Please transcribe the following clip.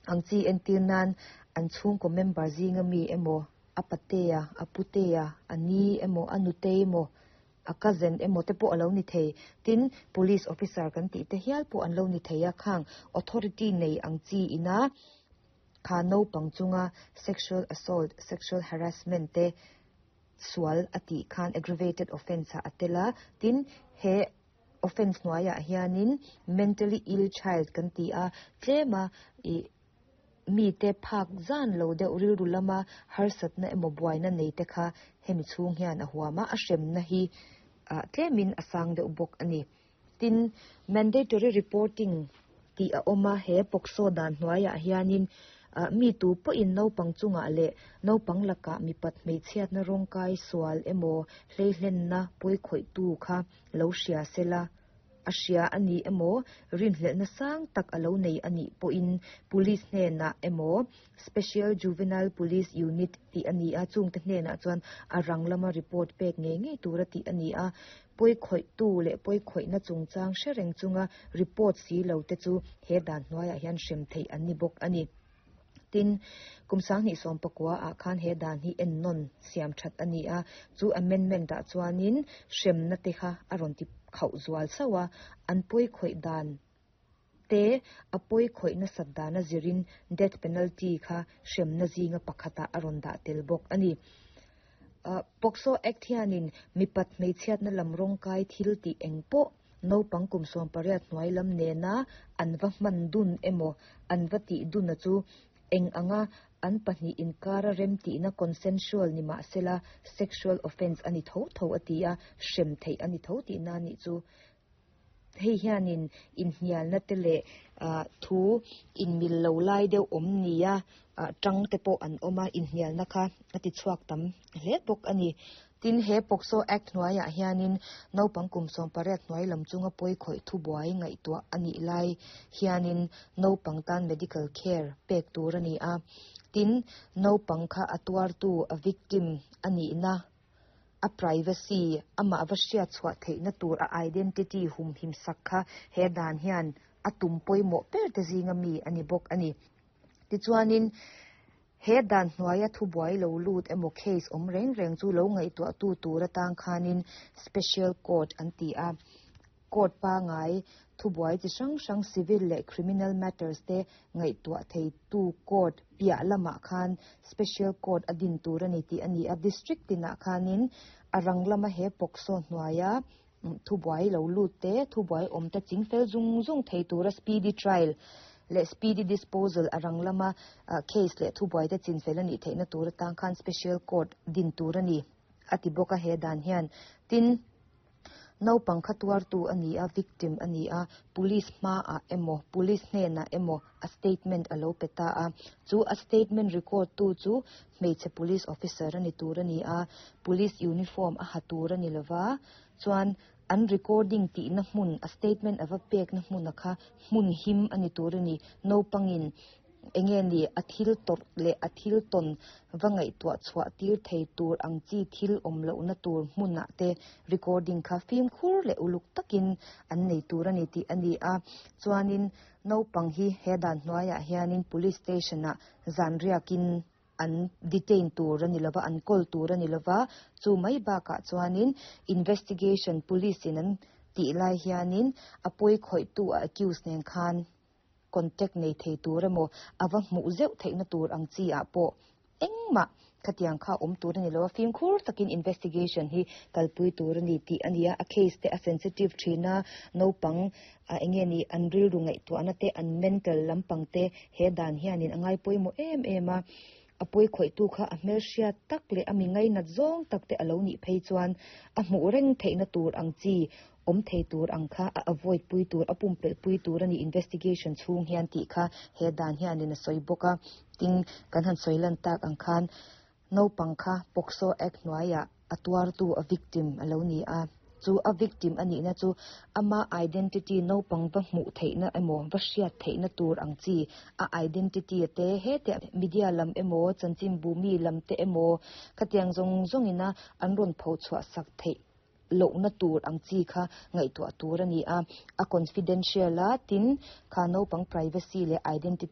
Ang chi entir nan an chhungkaw member zinga mi emaw a patea a putea a ni emaw a nutei emaw a cousin emaw te pawh alo ni thei. Tin, police officer kan tih te hial pawh an lo ni thei a, khang authority nei ang chi ina kha naupang chunga sexual assault, sexual harassment te sual a tih khan aggravated offence ah a tel a. Tin, he offence hnuaiah hianin mentally ill child kan ti a, tlema ih mite phak zan lo deuh rilru lama harsatna emaw buaina nei te kha hemi chhung hian a huam a, a hremna hi ah tlemin a sang deuh bawk a ni. Tin, mandatory reporting tih a awm a, he POCSO dan hnuaiah hianin ah mi tu pawhin naupang chungah leh naupang lakah mipat hmeichhiatna rawngkai sual emaw hleihlenna pawikhawihtu kha lo hria sela, a hria a ni emaw, rinhlelhna sang tak a lo nei a nih pawhin Police hnenah emaw Special Juvenile Police Unit tih a ni a, chungte hnenah chuan a rang lama report pek ngei ngei tura tih a ni a. Pawikhawihtu leh pawikhawihna chungchang hre reng chunga report si lo te chu he dan hnuaiah hian hrem theih an ni bawk a ni. Tin, kum 2019 ah khan he dan hi ennawn siam that a ni a, chu amendment ah chuanin hremna te kha a rawn ti khauh zual sauh a, an pawikhawih dan te a pawikhawih nasat dana zirin death penalty kha hremna zinga pakhatah a rawn dah tel bawk a ni. POCSO Act hianin mipat hmeichhiatna lam rawngkai thil tih eng pawh naupang kum 18 hnuai lam nena an va hman dun emaw an va tih duna chu eng anga an pahnih inkara rem tihna consensual ni mahsela sexual offence a ni tho tho a ti a, hrem theih a ni tho tihna a nih chu. Hei hianin inhnialna te leh thu inmil lo lai deuh awm nia tang te pawh an awm a, inhnialna kha a ti chhuak tam hle bawk a ni. Tin, he POCSO Act hnuaiah hianin naupang kum 18 hnuai lam chunga pawikhawih thubuai ngaihtuah a nih lai hianin naupang tan medical care pek tur a ni a. Tin, naupang kha a tuartu, a victim, a nihna, a privacy, amah va hriat chhuah theihna tur a identity humhim sak kha he dan hian a tum pawimawh ber te zinga mi a ni bawk a ni. Tichuanin, he dan hnuaia thubuai lo lut emaw case awm reng reng chu lo ngaihtuahtu tur atang khanin special court an ti a. Court pangai thubuai chi hrang hrang civil leh criminal matters te ngaihtuah theitu court piah lamah khan special court a din tur a ni tih a ni a. District tinah khanin a rang lama he POCSO hnuaia thubuai lo lut te, thubuai awm te chingfel zung zung thei tura speedy trial leh speedy disposal a rang lama case leh thubuai te chinfel a nih theihna tur atang khan special court din tur a ni a ti bawk a he dan hian. Tin, naupang kha tuartu a ni a, victim a ni a, police hmaah emaw, police hnenah emaw a statement a lo pe ta a. Chu a statement record tu chu hmeichhe police officer a ni tur a ni a, police uniform a ha tur a ni lova, chuan an recording tihna hmun, a statement a va pekna hmuna kha hmun him a ni tur a ni. Naupangin enge ni a thil tawrh leh a thil tawn va ngaihtuah chhuah tir thei tur ang chi thil awm lohna tur hmunah te recording kha fimkhur leh uluk takin an nei tur a ni tih a ni a. Chuanin naupang hi he dan hnuaiah hianin police station ah zan riakin an detain tur a ni lova, an kawl tur a ni lova, chu mai bakah chuanin investigation police in an tih lai hianin a pawikhawihtu a accused nen khan contact nei thei tur emaw a va hmuh zeuh theihna tur ang chi ah pawh engmah khatiang kha awm tur a ni lo a, fimkhur takin investigation hi kalpui tur a ni tih a ni a, a case te a sensitive thin a, naupang ah enge ni an rilru ngaihtuahna te an mental lampang te he dan hianin a ngai pawimawh em em a, a pawikhawihtu kha a hmelhriat tak leh a mi ngainat zawng tak te a lo nih phei chuan a hmuh reng theihna tur ang chi awm thei tur ang kha a avoid pui tur, a pumpelh pui tur a ni investigation chhung hian tih kha he dan hianin a sawi bawk a. Tin, kan han sawi lan tak ang khan naupang kha POCSO Act hnuaiah a tuartu, a victim a lo ni a. Chu a victim a nihna chu ama identity naupang va hmuh theihna emaw va hriat theihna tur ang chi a identity te hete media lam emaw chanchinbu mi lam te emaw khatiang zawng zawngina an rawn phochhuah sak theih lohna tur ang chi kha ngaihtuah tur a ni a, a confidential a, tin kha naupang privacy leh identity.